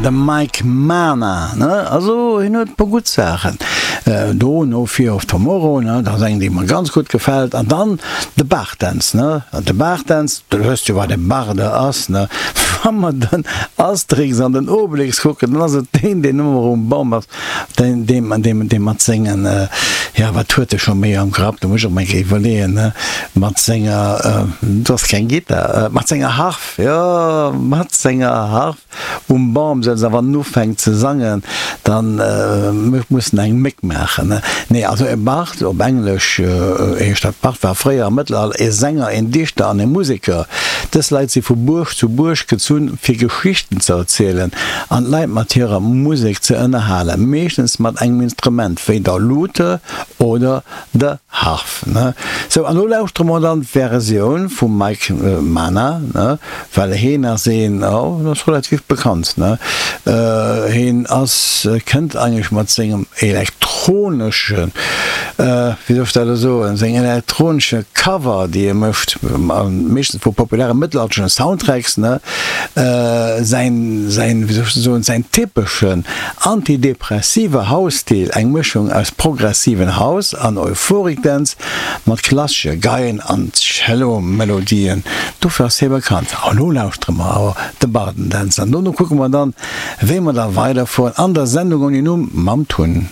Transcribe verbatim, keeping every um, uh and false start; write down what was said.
De Mike Mana, ne? Also hien huet e puer gutt Saachen do, No Fear of Tomorrow, ne? Dat ass eng, déi mer ganz gutt gefält. An dann de Bardance, ne? An de Bardance, du wësst jo, wat e Barde ass, ne? Wa mer den Asterix an den Obelix kucken, dann ass et deen, deen ëmmer um Bam ass, deen, deen, deen, dee mat sengen, jo, wat huet e scho méi am Grapp, do muss ech och mol eng Kéier iwwerleeën, ne? Mat senger, dat ass keng Gittar, mat senger Harf, jo, mat senger Harf um Bam sëtzt a wann en ufänkt ze sangen, dann muss en eng Méck maachen. Nee, also e Bard, op Englesch heescht dat Bard, war fréier am Mëttelalter e Sänger, en Dichter an e Museker. Dës Leit si vu Buerg zu Buerg gezunn, fir Geschichten ze erzielen an d'Leit mat hirer Musek ze ënnerhalen, meeschtens mat engem Instrument wéi der Lute oder der Harf. Sou, an elo lauschtere mer dann d'Versioun vum Mike Mana, well heen ass een, oh, en ass relativ bekannt, ne? Heen ass, kënnt eigentlech mat sengem elektroneschen, wéi soll ech dat elo soen, seng elektronesche Cover, déi e mécht, meeschtens vu populäre mëttelalterlechen Soundtracks, ne? Säin, säin, wéi soll ech dat soen, säin typeschen antidepressive House-Stil, eng Mëschung aus progressiven House an Euphoric Dance mat klassesche Geien an Cello-Melodien. Dofir ass hie bekannt. A lo lauschtere mer awer de Bardendänzer an dono kucke mer dann, wéi mer da weiderfueren an der Sendung ouni Numm mam Tun.